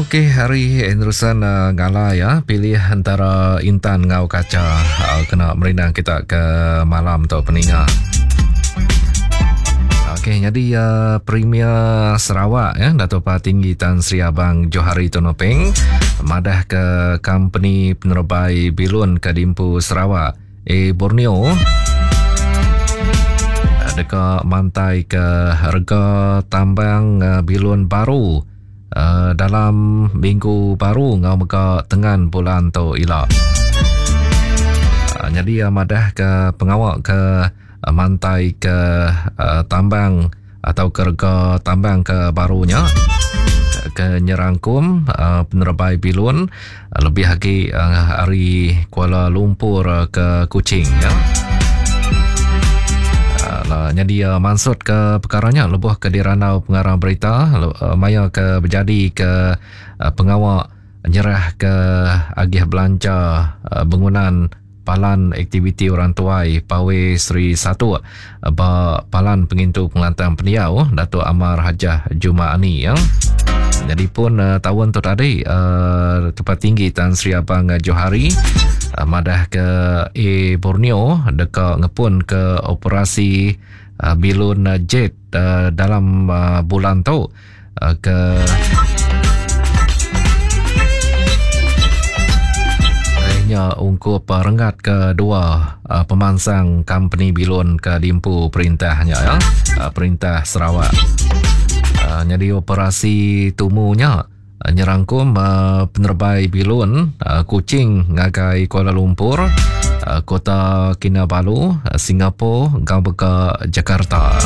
Okey, hari Anderson uh, ngala ya pilih antara intan ngau kaca uh, kena merindang kita ke malam tu peninga. Okey, jadi uh, Premier Sarawak ya Dato' Patinggi Tan Sri Abang Johari Tun Openg madah ke company penerbai bilun ke dimpu Sarawak A Borneo deka mantai ke rega tambang eh, bilun baru eh, dalam minggu baru enggau mega tengan bulan tu ila. Eh, Nyadi iya madah ke pengawa ke mantai ke tambang atau ke rega tambang ke baru nya ke nyerangkum uh, penerebai bilun uh, lebih agi uh, ari Kuala Lumpur uh, ke Kuching ya. Uh, nyadi uh, mansut ke perkara nya lebuh ke dirandau pengarang berita uh, maya ke bejadi ke uh, pengawa nyerah ke agih belanja uh, bangunan Palan Aktiviti Orang Tuai Pawe Sri Satuk ba Palan Pengintu Pengelantang Pendiau Datuk Amar Hajah Juma'ani. Ya. Jadi pun uh, tahun tu tadi uh, Tempat Tinggi Tan Sri Abang Johari uh, madah ke A Borneo deka ngepun ke operasi uh, bilun jet uh, dalam uh, bulan tu uh, ke nya ungkup uh, renggat kedua uh, pemansang company bilun ke diempu perintahnya ya uh, perintah Sarawak. Uh, jadi operasi tumunya uh, nyerangkum uh, penerbai bilun uh, Kuching ngagai Kuala Lumpur, uh, Kota Kinabalu, uh, Singapura, enggau mega Jakarta.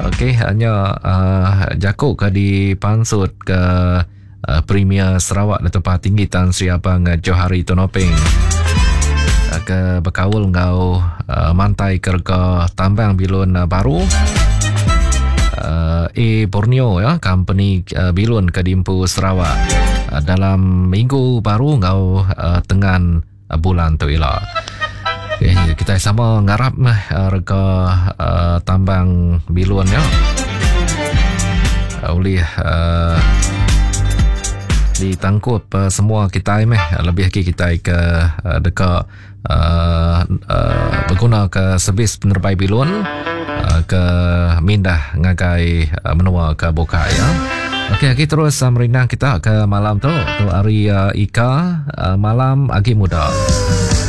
Okey, hanya uh, jaku ke dipansut ke uh, Premier Sarawak Datuk Patinggi Tan Sri Abang Johari Tun Openg uh, ke bekaul enggau uh, mantai kerega tambang bilun uh, baru uh, A Borneo ya company uh, bilun ke diempu Sarawak uh, dalam minggu baru enggau uh, tengan bulan tu ila. Okay, kita sama ngarap meh eh, rega uh, tambang bilun ya. Uh, oleh uh, ditangkup uh, semua kita meh lebih lagi kita ke uh, deka uh, uh, berguna ke servis penerbai bilun uh, ke mindah ngagai uh, menua ke bukai ya. Okey, agi terus uh, merindang kita ke malam tu. Tu hari uh, Ika uh, malam agi muda.